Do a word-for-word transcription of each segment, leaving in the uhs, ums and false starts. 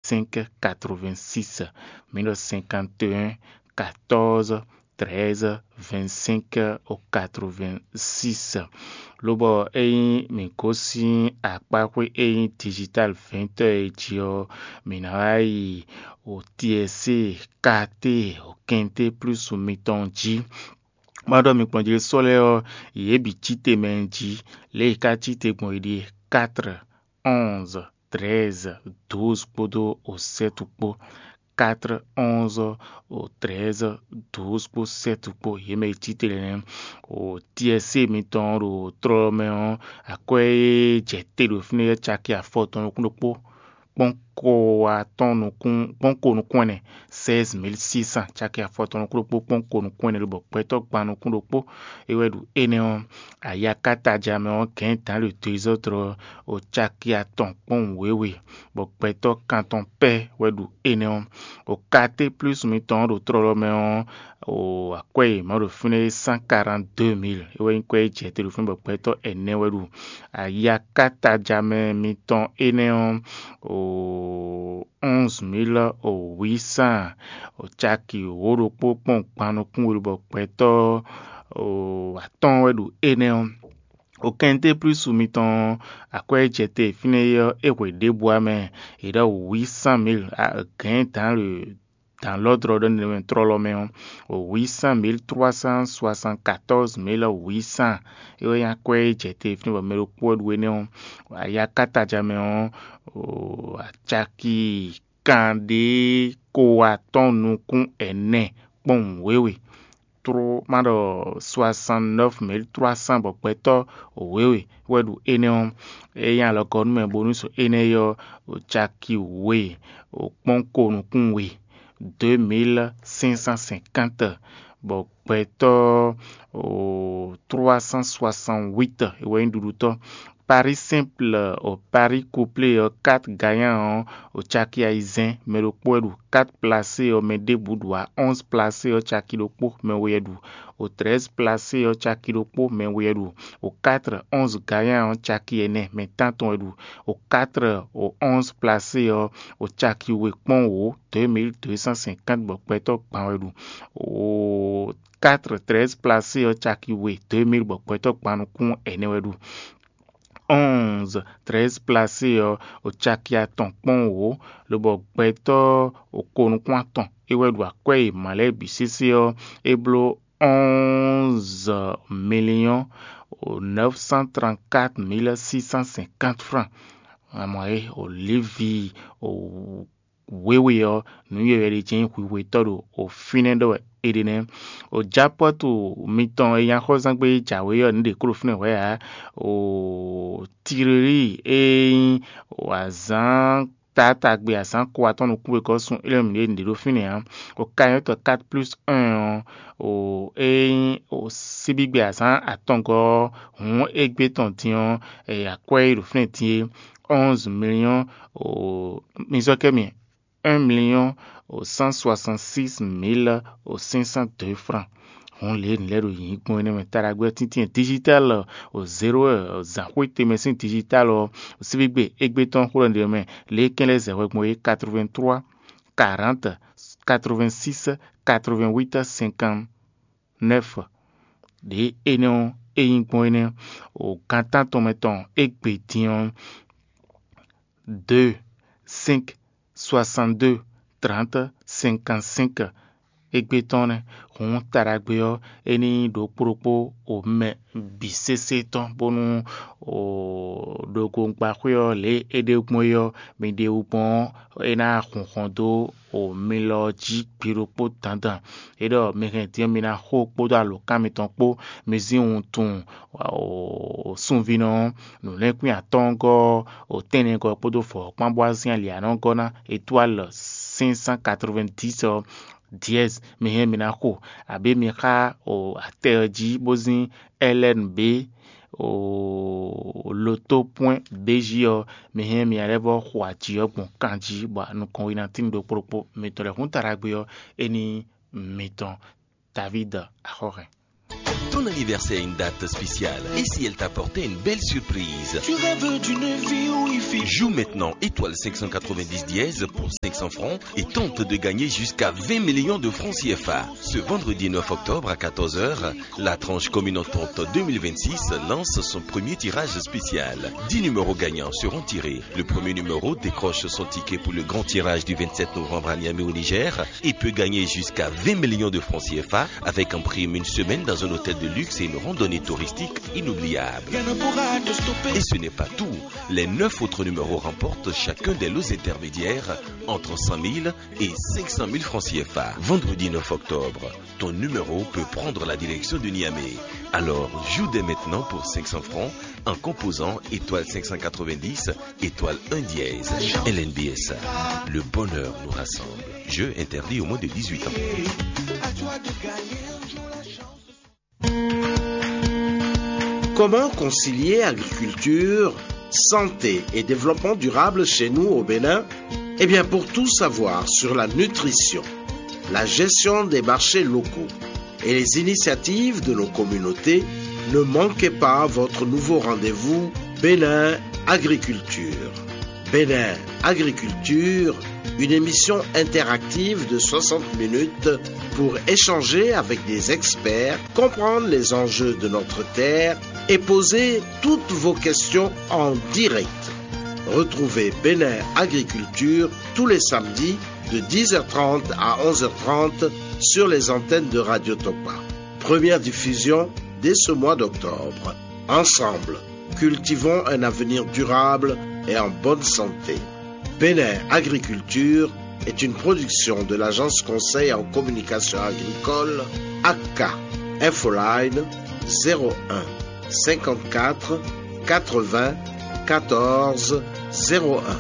cinq quatre-vingt-six, mǐ ɖɔ cinquante et un quatorze treize vingt-cinq au quatre-vingt-six. Lobɔ ényí mǐ gosín akpáxwé e nyí digital vɛ̌ntɔ́ e jí ɔ́, mǐ ná wá yi o T S C, K T, o Kente plus mitɔn jí. Má ɖɔ mi kplɔ́n jí sɔ́ lɛ́ɛ ɔ́, yě bǐ cí te mɛ jí, lě e yě ká cí te gbɔn é ɖíe: quatre, onze, treize, douze kpódó o sept kpó. Quatre, onze, o treize, douze kpó sept kpó, yě mɛ e cí te lɛ́ɛ nɛ́. O T S C mitɔn ɖo tlɔ́ mɛ ɔ́, akwɛ́ e jɛ te ɖo fínɛ́ ɔ́ caki afɔtɔn nukún ɖokpó kpɔ́n ko atɔn nukún kpɔ́n ko nukún ɛnɛ, seize mille six cents, caki afɔtɔn nukún ɖokpó kpɔ́n ko nukún ɛnɛ lobɔ gbɛtɔ́ gban nukún ɖokpó é wɛ ɖu énɛ́ ɔ́. Ayakataja mɛ ɔ́, gɛ̌n dǎn le dezɔ́drɔ o caki atɔn kpɔ́n wěwe, bɔ gbɛtɔ́ kantɔn pɛ́ wɛ ɖu énɛ́ ɔ́. O K T plus mitɔn ɔ́ ɖo tlɔ́lɔ́ mɛ ɔ́, o akwɛ́ e mɔ̌ ɖo fínɛ́ é cent quarante-deux mille é wɛ nyí kwɛ́ e jɛ te ɖo fínɛ́ bɔ gbɛtɔ́ ɛnɛ wɛ ɖu. Ayakataja mɛ mitɔn énɛ́ ɔ́, o onze mille huit cents, o caki wǒ ɖokpó kpɔ́n gban nukún we lobɔ gbɛtɔ́ o atɔ́ɔ́n wɛ ɖu énɛ́ ɔ́. O Kente plus mitɔn ɔ́, akwɛ́ e jɛ te fínɛ́ é ɔ́, é hwe ɖěbǔ ǎ mɛ, è ɖɔ huit cent mille, gɛ̌n dǎn le dǎn lɔ́dlɔ́ ɖɔ nɛmɛ tlɔ́lɔ́ mɛ ɔ́, huit cent mille trois cent soixante-quatorze mille huit cents é wɛ nyí akwɛ́ e jɛ te fínɛ́ bɔ mɛ ɖokpó wɛ ɖu énɛ́ ɔ́. Ayakataja mɛ ɔ́, o acaki kanɖé ko atɔ́ɔ́n nukún ɛnɛ kpɔ́n wěwe. Tró má ɖɔ soixante-neuf mille trois cents bɔ gbɛtɔ́ wěwe wɛ ɖu énɛ́ ɔ́. É nyí alɔgɔ́númɛ bónú so énɛ́ ɔ́, caki we kpɔ́n ko nukún we, deux mille cinq cent cinquante, bɔ gbɛtɔ́ trois cent soixante-huit é wɛ nyí ɖuɖutɔ́. Paris simple o Paris couplé ɔ́, quatre gagnant ɔ́, o caki ayizɛ́n, mɛ ɖokpó wɛ ɖu. Quatre placé ɔ́, mɛ ɖěbǔ ɖu ǎ. Onze placé ɔ́, caki ɖokpó, mɛ we wɛ ɖu. O treize placé ɔ́, caki ɖokpó, mɛ we wɛ ɖu. O quatre onze gagnant ɔ́, caki ɛnɛ, mɛ tántɔn wɛ ɖu. O quatre o onze placé ɔ́, o caki we kpɔ́n wǒ, deux mille deux cent cinquante bɔ gbɛtɔ́ gban wɛ ɖu. O quatre treize placé ɔ́, caki we, deux mille bɔ gbɛtɔ́ gban nukún ɛnɛ wɛ ɖu. Onze treize placé ɔ́, o caki atɔn kpɔ́n wǒ, lobɔ gbɛtɔ́ o ko nukún atɔn é wɛ ɖu akwɛ́ e mǎ lɛ́ɛ bǐ sésé ɔ́, é bló onze millions neuf cent trente-quatre mille six cent cinquante francs. Amɔ é o Lévi o wěwe ɔ́, nǔ yɔywɛ ɖé jɛ́n nyí hwihwetɔ́ ɖo o fínɛ́ ɖɔ wɛ é ɖe nɛ́. O japɔ́tu mitɔn e nyí axɔ́zángbé jǎwe ɔ́, nǔ ɖě kó ɖo fínɛ́ hwɛ̌ ǎ. O Tirelí e nyí o azǎn taatagbe azǎn ko atɔ́ɔ́n nukún wegɔ́ sun élɔ́ mǐɖée nǔɖé ɖo fínɛ́ ǎ. O kanyɔ́tɔ quatre plus un ɔ́, o e nyí o síbígbe azǎn atɔngɔ́ ɔ́, hǔn égbé tɔn din ɔ́, e akwɛ́ e ɖo fínɛ́ din é, onze millions o mi zɔ́ kɛ mi un million o cent soixante-six mille o cinq cent deux francs. Hǔn lě nǔ lɛ́ɛ ɖo yǐ gbɔn énɛ́ mɛ taɖagbe ɔ́ tíntín digital o zéro zǎnxwé tɛnmɛ sín digital ɔ́, síbígbe égbé tɔn xó ɖɔ ɖě mɛ lě kɛn lɛ́ zɛ hwɛ gbɔn é quatre-vingt-trois quarante quatre-vingt-six quatre-vingt-huit cinquante-neuf. Ɖě énɛ́ ɔ́ é nyí gbɔn énɛ́ o gan tántɔn mɛ tɔn égbé din ɔ́, deux cinq soixante-deux trente cinquante-cinq égbé tɔn nɛ́. Hǔn taɖagbe ɔ́, é ní nyí ɖokpó ɖokpó o mɛ bǐ sésé tɔn, bónú o ɖogogbáxwé ɔ́ lě e é ɖe gbɔn é ɔ́, mi ɖe wú gbɔn ɔ́, é ná hun hɔn dó o mi lɔ ɔ́ jí gbe ɖokpó dandan. É ɖɔ mi hɛn din ɔ́, mi ná xo kpódó alǒkan mitɔn kpó, mi zín wuntun o sunvínɔ ɔ́, nǔlɛ́nkwín atɔ́ɔ́ngɔ́ ɔ́, o tɛ́nnɛgɔ́ kpódó vɔ̌kpán bó wá zín ali anɔ́gɔ́ ná étoile cinq cent quatre-vingt-dix ɔ́, dièse mi hɛn mi ná xo, abǐ mi xá o atɛ ɔ́ jí bó zín L N B o loto point B J ɔ́, mi hɛn mi lɛ́ vɔ́ xo aji ɔ́ gbɔn kan jí, bɔ nukɔn we ná tín ɖokpó ɖokpó. Mitɔn lɛ́ hún taɖagbe ɔ́, é ní mitɔn David Axɔ́hɛn. Ton anniversaire a une date spéciale. Et si elle t'apportait une belle surprise ? Tu rêves d'une vie où il fait... Joue maintenant étoile cinq cent quatre-vingt-dix dièse pour cinq cents francs et tente de gagner jusqu'à vingt millions de francs C F A. Ce vendredi neuf octobre à quatorze heures, la tranche commune entente deux mille vingt-six lance son premier tirage spécial. Dix numéros gagnants seront tirés. Le premier numéro décroche son ticket pour le grand tirage du vingt-sept novembre à Niamey au Niger et peut gagner jusqu'à vingt millions de francs C F A avec en prime une semaine dans un hôtel de luxe et une randonnée touristique inoubliable. Et ce n'est pas tout. Les neuf autres numéros remportent chacun des lots intermédiaires entre cent mille et cinq cent mille francs C F A. Vendredi neuf octobre, ton numéro peut prendre la direction de Niamey. Alors, joue dès maintenant pour cinq cents francs en composant étoile cinq cent quatre-vingt-dix, étoile un dièse. L N B S A, le bonheur nous rassemble. Jeu interdit aux moins de dix-huit ans. Comment concilier agriculture, santé et développement durable chez nous au Bénin ? Eh bien, pour tout savoir sur la nutrition, la gestion des marchés locaux et les initiatives de nos communautés, ne manquez pas votre nouveau rendez-vous Bénin Agriculture. Bénin Agriculture, une émission interactive de soixante minutes pour échanger avec des experts, comprendre les enjeux de notre terre et poser toutes vos questions en direct. Retrouvez Bénin Agriculture tous les samedis de dix heures trente à onze heures trente sur les antennes de Radio Topa. Première diffusion dès ce mois d'octobre. Ensemble, cultivons un avenir durable et en bonne santé. Bénin Agriculture est une production de l'Agence Conseil en Communication Agricole, A C A. Infoline zéro un cinquante-quatre quatre-vingts quatorze zéro un.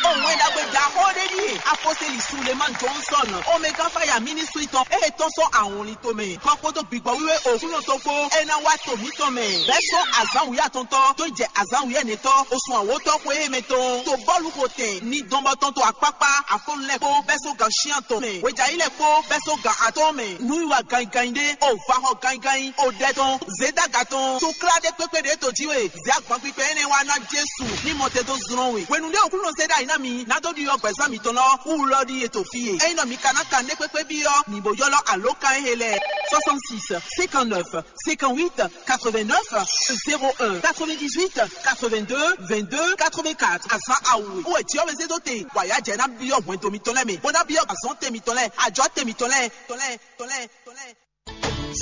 Ó wɛn ɖagbe ɖaxó ɖé ɖíe apɔ́sɛ́li Sulemani Johnson, Omega Fire Ministry tɔn, e tɔ́n sɔ́ awɔnlin tomɛ, kɔ kpódó gbigbɔ wíwé Oklúnɔ tɔn kpó, é ná wá to mǐtɔn mɛ, bɛ́ sɔ́ azǎn wǔyá tɔn tɔ́ dó jɛ azǎn wǔyɛ́nɛtɔ́ osùn awǒtɔ́ xwe émɛ tɔn, to bɔ́lu xo tɛn ní dɔn bɔ tɔn to akpákpá afɔ́nú lɛ́ɛ kpó bɛ́ sɔ́ gan shyán tɔn mɛ, hwejǎyi lɛ́ɛ kpó bɛ́ sɔ́ gan atɔ́ɔ́n mɛ, nǔwiwa ganyiganyi ɖé, o vahɔ ganyiganyi, o ɖɛ tɔn, zědaga tɔn, to klá ɖé kpékpé ɖě to jí we, zě agban kpikpɛ énɛ́ wá ná Jesu ní mɔ te dó zlɔ́n we. Hwenu ɖé Oklúnɔ zé ɖ'ayǐ ná mi, ná dó ɖiɖɔ gbɛ̌zán mitɔn lɔ wú lɔ ɖíe to fí e. Ényí nɔ mi ka ná kan nɛ́ kpékpé byɔ́, mi bo ylɔ́ alǒkan e he lɛ́ɛ: soixante-six cinquante-neuf cinquante-huit quatre-vingt-neuf zéro un, quatre-vingt-dix-huit quatre-vingt-deux vingt-deux quatre-vingt-quatre. Azǎn awu wɛ Jihwɛ́ zé dó te, bɔ ayǎ jɛ ná byɔ́ hwɛndo mitɔn lɛ́ɛ mɛ, bó ná byɔ́ azɔ̌ te mitɔn lɛ́ɛ, ajɔ̌ te mitɔn lɛ́ɛ, tɔn lɛ́ɛ, tɔn lɛ́ɛ, tɔn lɛ́ɛ.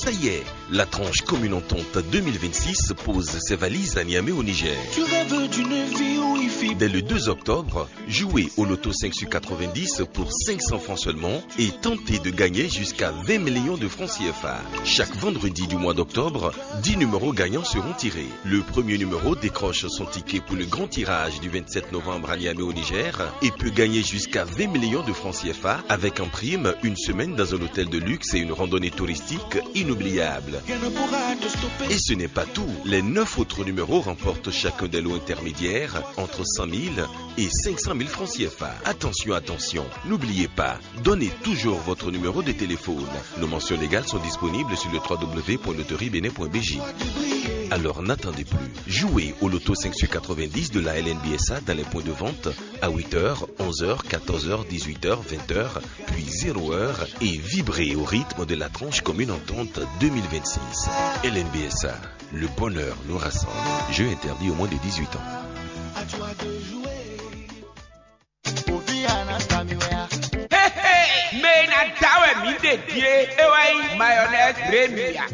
Ça y est, la tranche commune entente deux mille vingt-six pose ses valises à Niamey au Niger. Tu rêves d'une vie où il fait... Dès le deux octobre, jouez au loto cinq sur quatre-vingt-dix pour cinq cents francs seulement et tentez de gagner jusqu'à vingt millions de francs C F A. Chaque vendredi du mois d'octobre, dix numéros gagnants seront tirés. Le premier numéro décroche son ticket pour le grand tirage du vingt-sept novembre à Niamey au Niger et peut gagner jusqu'à vingt millions de francs C F A avec en prime une semaine dans un hôtel de luxe et une randonnée touristique inoubliable. Et ce n'est pas tout. Les neuf autres numéros remportent chacun des lots intermédiaires entre cent mille et cinq cent mille francs C F A. Attention, attention, n'oubliez pas, donnez toujours votre numéro de téléphone. Nos mentions légales sont disponibles sur le trois W point loterie bénin point B J. Alors n'attendez plus. Jouez au loto cinq sur quatre-vingt-dix de la L N B S A dans les points de vente à huit heures, onze heures, quatorze heures, dix-huit heures, vingt heures, puis zéro heure et vibrez au rythme de la tranche commune entente deux mille vingt-six. L N B S A, le bonheur nous rassemble. Jeu interdit aux moins de dix-huit ans. Hey, hey, mɛ e ná da wɛ mǐ ɖe ɖíe, é wɛ nyí mayonnaise Remia.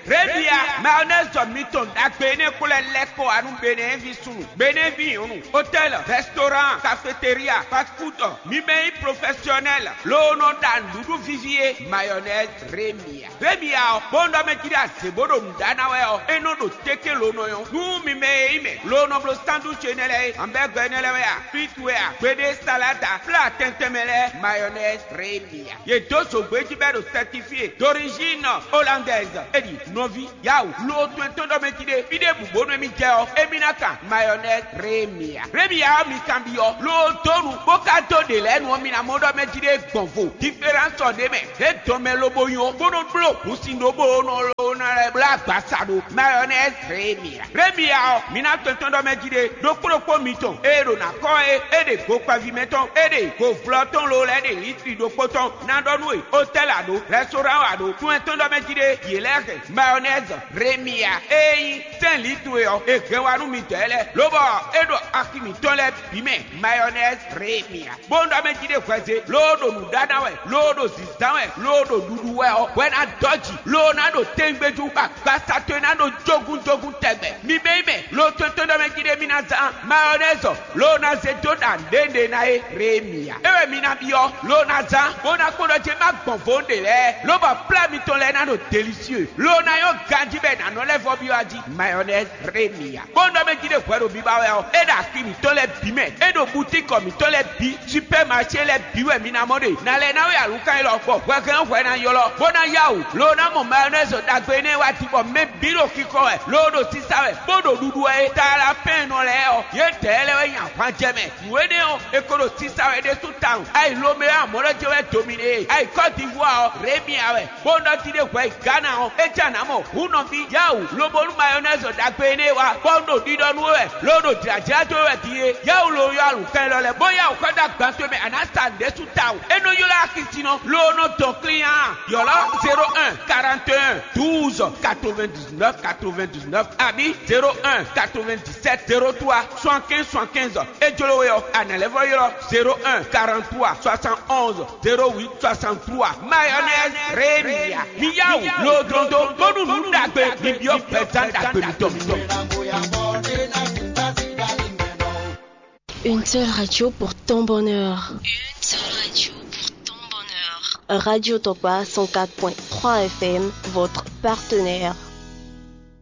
Remia, mayonnaise jɔ mitɔn ɖagbe énɛ́ kplɔ́ lɛ́ kɔ wá nú Benin ví súnnu, Benin ví nyɔ̌nu, hôtel, restaurant, cafétéria, fast food, mi mɛ nyí professionnel, loo nɔ ɖa nǔɖuɖu víví é, mayonnaise Remia. Běmi ya ɔ́, bó nɔ mɛ jí ɖe azě bó ɖo nǔ ɖá ná wɛ ɔ́, é nɔ ɖo téké lo nɔ nyɔ́. Nú mi mɛ e nyí mɛ lo nɔ bló sándúci énɛ́ lɛ́ɛ é, hamɛ́gɔ́ énɛ́ lɛ́ɛ wɛ a, fítú wɛ a, gbeɖé saláda, flá tɛntɛn mɛ lɛ́ɛ, mayɔnɛzi, rémi a. Yě dó zǒgbé jí bɔ é ɖo sɛtifíe d'origine hollandaise. É ɖi nɔví, yawu, lo tɔn tɔn ɖɔ mɛ jí ɖe, fí ɖěbǔ bónú émí jɛ ɔ́, émí ná kan mayɔnɛzi, rémi a. Rémi a ɔ́, mi kanbyɔ́ lo dó nu, bó ka dó ɖě lɛ́ɛ nu ɔ́, mi ná mɔ ɖɔ mɛ jí ɖe gbɔn vo. Diferánsɔ ɖé mɛ, é dɔn mɛ lobo nyɔ, bó nɔ bló hǔnsin ɖó bó nɔ lo ná lɛ́ bló agbasa ɖo mayɔnɛzi, rémi a. Rémi a ɔ́, mi ná tɔn tɔn ɖɔ mɛ jí ɖe, ɖokpó ɖokpó mitɔn e ɖo ná kɔ é, é ɖe gokpɛví mɛtɔn, é ɖe govlɔ tɔn lo lɛ́ɛ ɖe litri ɖokpó tɔn ná ɖɔ nú we, hotɛ́li a ɖǒ, rɛstoran a ɖǒ, tún ɛ tɔn ɖɔ mɛ jí ɖe, yě lɛ́ɛ hɛn mayɔnɛzi, rémi a. Ényí sɛ́n litru e ɔ́, è hɛn wá nú midɔɛ lɛ́ɛ, lobɔ é ɖo axi mǐtɔn lɛ́ɛ bǐ mɛ, mayɔnɛzi, rémi a. Bó nɔ ɖɔ mɛ jí ɖe hwɛzé, loo ɖo nǔ ɖá ná wɛ, loo ɖo zǐzán wɛ, loo ɖo ɖuɖu wɛ ɔ́, hwɛ ná dɔ́ jǐ, loo ná ɖo tɛngbéjú, bɔ agbasa towe ná ɖo jógúnjógún tɛgbɛ. Mi bɛ́ mɛ, lo tɔn tɔn ɖɔ mɛ jí ɖe mi ná zán mayɔnɛzi, loo ná zé dó ɖa nǔɖé ná é, rémi a. É wɛ mi ná byɔ́, loo ná zán, bó ná kpɔ́n ɖɔ jɛ má gbɔn vo ɖe lɛ́ɛ, lobɔ plá mitɔn lɛ́ɛ ná ɖo delisieu, loo ná nyɔ́ ganjí bɔ è nǎ nɔ lɛ́ vɔ byɔ́ a jí, mayɔnɛzi, rémi a. Bó nɔ mɛ jí ɖe hwɛ ɖo biba wɛ ɔ́, é ɖo axi mǐtɔn lɛ́ɛ bǐ mɛ, é ɖo butíkɔ mǐtɔn lɛ́ɛ bǐ, supɛ́maṣé lɛ́ɛ bǐ wɛ mi ná mɔ ɖe. Nǎ lɛ́ ná wɛ alǔkan élɔ́, bɔ hwɛhɛn hwɛ ná ylɔ́, bó ná yá wǔ, loo ná mɔ mayɔnɛzi ɖagbe énɛ́ wá din, bɔ mɛ bǐ ɖo xixɔ wɛ, loo ɖo sisa wɛ, bó ɖo ɖuɖu wɛ é. Talapɛ́nnɔ lɛ́ɛ ɔ́, yědɛɛ lɛ́ɛ wɛ nyi ahwan jɛ mɛ. Nǔ énɛ́ ɔ́, è ko ɖo sisa wɛ ɖésú tawun. Ayi Lomé wɛ amɔ̌ lɛ́ jɛ wɛ dominé e. Ayi Kɔ́divuwa ɔ́, Rémia wɛ. Bó nɔ jí ɖé hwɛ yi Gana ɔ́, é jɛ nǎ mɔ hǔn nɔví yáwǔ, lobo nú mayɔnɛzi ɖagbe énɛ́ wá, bɔ un ɖo ɖiɖɔ nú we wɛ, lo ɖo jlǎjlá dó we wɛ din é. Yáwǔ lo yɔ alǔkan élɔ́ lɛ́ɛ, bó yáwǔ xɔ dó agban towe mɛ, a nǎ sa nǔɖé sú tawun. É nɔ ylɔ́ axisínɔ, lo nɔ dɔn klín a? Ylɔ́ zéro un quarante et un douze quatre-vingt-dix-neuf quatre-vingt-dix-neuf abǐ zéro un quatre-vingt-dix-sept zéro trois soixante-quinze soixante-quinze. É jló we ɔ́, a nǎ lɛ́ vɔ ylɔ́ zéro un quarante-trois soixante-onze zéro huit soixante-trois. Mayonnaise Rémia. Mi yá wǔ lodlodo bónú nǔ ɖagbe mi byɔ́ gbɛzán ɖagbe mitɔn. Une seule radio pour ton bonheur. Une seule radio pour ton bonheur. Radio Tokpa cent quatre point trois F M, votre partenaire.